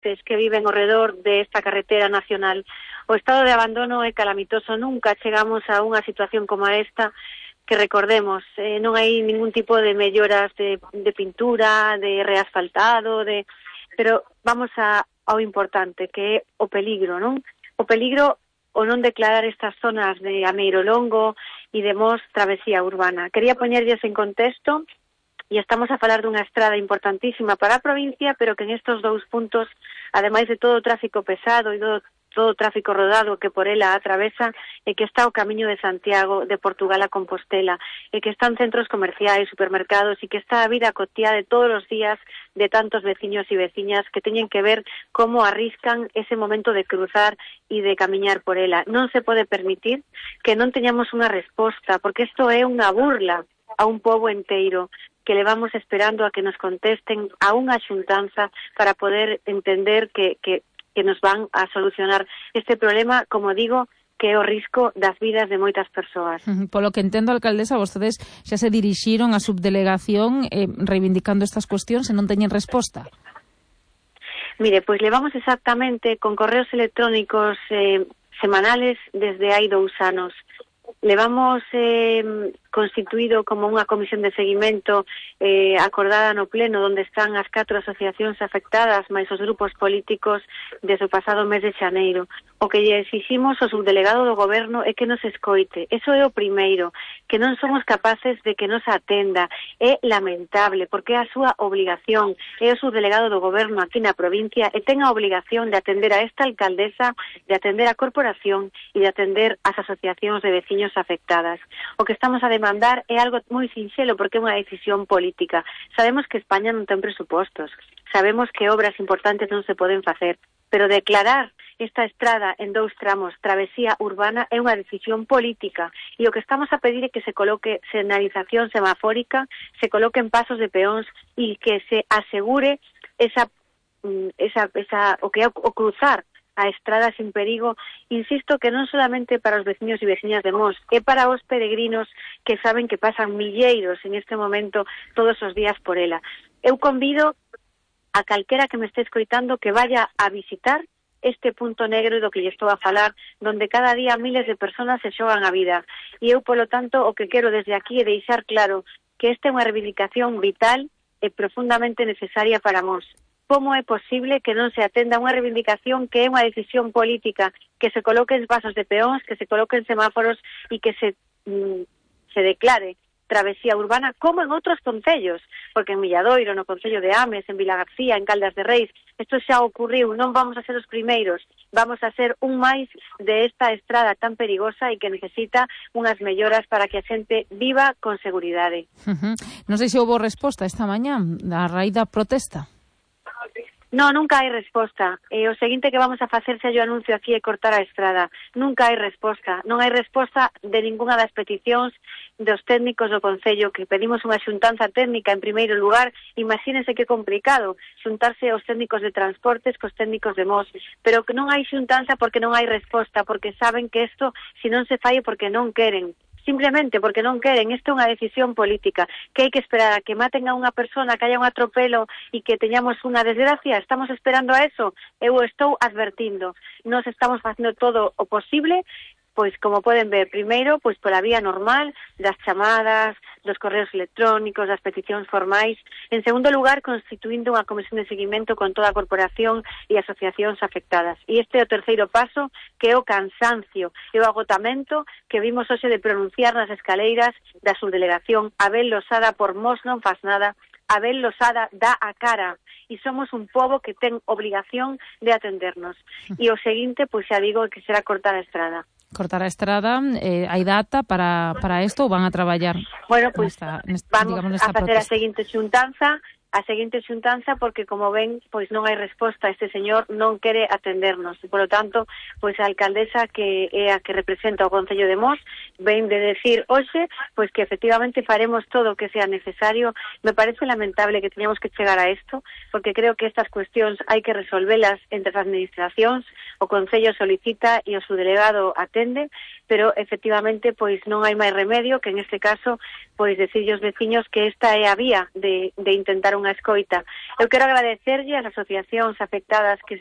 que viven ao redor desta carretera nacional. O estado de abandono é calamitoso, nunca chegamos a unha situación como esta, que recordemos, non hai ningún tipo de melloras de pintura, de reasfaltado, pero vamos ao importante, que é o peligro, non? O peligro o non declarar estas zonas de Ameiro Longo e de Mos travesía urbana. Quería poñerlles en contexto, e estamos a falar dunha estrada importantísima para a provincia, pero que en estos dous puntos, ademais de todo o tráfico pesado e todo o tráfico rodado que por ela atravesa, e que está o camiño de Santiago, de Portugal a Compostela, e que están centros comerciais, supermercados, e que está a vida cotiá de todos os días de tantos veciños e veciñas que teñen que ver como arriscan ese momento de cruzar e de camiñar por ela. Non se pode permitir que non teñamos unha resposta, porque isto é unha burla a un pobo enteiro, que levamos esperando a que nos contesten a unha xuntanza para poder entender que nos van a solucionar este problema, como digo, que é o risco das vidas de moitas persoas. Polo que entendo, alcaldesa, vostedes xa se dirixiron á subdelegación reivindicando estas cuestións e non teñen resposta. Mire, pois levamos exactamente con correos electrónicos semanales desde hai 2 anos. Levamos constituído como unha comisión de seguimento acordada no pleno, onde están as 4 asociacións afectadas máis os grupos políticos desde o pasado mes de xaneiro. O que lle exiximos ao subdelegado do goberno é que nos escoite. Eso é o primeiro, que non somos capaces de que nos atenda. É lamentable, porque é a súa obligación. É o subdelegado do goberno aquí na provincia e ten a obligación de atender a esta alcaldesa, de atender a corporación e de atender as asociacións de veciños afectadas. O que estamos a demandar é algo moi sinxelo, porque é unha decisión política. Sabemos que España non ten presupostos, sabemos que obras importantes non se poden facer, pero declarar esta estrada en 2 tramos, travesía urbana, é unha decisión política, e o que estamos a pedir é que se coloque señalización semafórica, se coloquen pasos de peóns e que se asegure o cruzar a estrada sin perigo. Insisto que non solamente para os veciños e veciñas de Mos, é para os peregrinos que saben que pasan milleiros en este momento todos os días por ela. Eu convido a calquera que me este escoitando que vaya a visitar este punto negro do que lle estou a falar, donde cada día miles de personas se xogan a vida. E eu, polo tanto, o que quero desde aquí é deixar claro que esta é unha reivindicación vital e profundamente necesaria para Mos. Como é posible que non se atenda unha reivindicación que é unha decisión política, que se coloquen pasos de peóns, que se coloquen semáforos e que se declare travesía urbana, como en outros concellos, porque en Milladoiro, no concello de Ames, en Vilagarcía, en Caldas de Reis, isto xa ocurriu, non vamos a ser os primeiros, vamos a ser un máis de esta estrada tan perigosa e que necesita unhas melloras para que a xente viva con seguridade. Non sei se houve resposta esta mañá a raíz da protesta. No, nunca hai resposta. O seguinte que vamos a facer, se yo anuncio aquí, é cortar a estrada. Nunca hai resposta. Non hai resposta de ningunha das peticións dos técnicos do Concello, que pedimos unha xuntanza técnica en primeiro lugar. Imagínense que complicado xuntarse os técnicos de transportes cos técnicos de Mos, pero que non hai xuntanza porque non hai resposta, porque saben que isto, se non se fai, porque non queren. Simplemente porque non queren. Esta é unha decisión política, que hai que esperar a que maten a unha persona, que haya un atropelo e que teñamos unha desgracia. Estamos esperando a eso. Eu estou advertindo. Nos estamos facendo todo o posible, pois como poden ver, primeiro, pois pola vía normal das chamadas, dos correos electrónicos, das peticións formais. En segundo lugar, constituindo unha comisión de seguimento con toda a corporación e asociacións afectadas. E este é o terceiro paso, que é o cansancio e o agotamento que vimos hoxe de pronunciar nas escaleiras da subdelegación. Abel Losada, por Mos non faz nada. Abel Losada dá a cara e somos un pobo que ten obligación de atendernos. E o seguinte, pois xa digo, que será cortar a estrada. Cortar a estrada, hai data para isto ou van a traballar? Bueno, pois vamos a facer protesta? a seguinte xuntanza porque, como ven, pois non hai resposta. Este señor non quere atendernos. E, polo tanto, pois a alcaldesa, que é a que representa o Concello de Mos, ven de decir hoxe pois que efectivamente faremos todo o que sea necesario. Me parece lamentable que teñamos que chegar a isto, porque creo que estas cuestións hai que resolvelas entre as administracións. O Concello solicita e o subdelegado atende, pero efectivamente pois non hai máis remedio que en este caso pois decirlle aos veciños que esta é a vía de intentar unha escoita. Eu quero agradecerlle ás asociacións afectadas que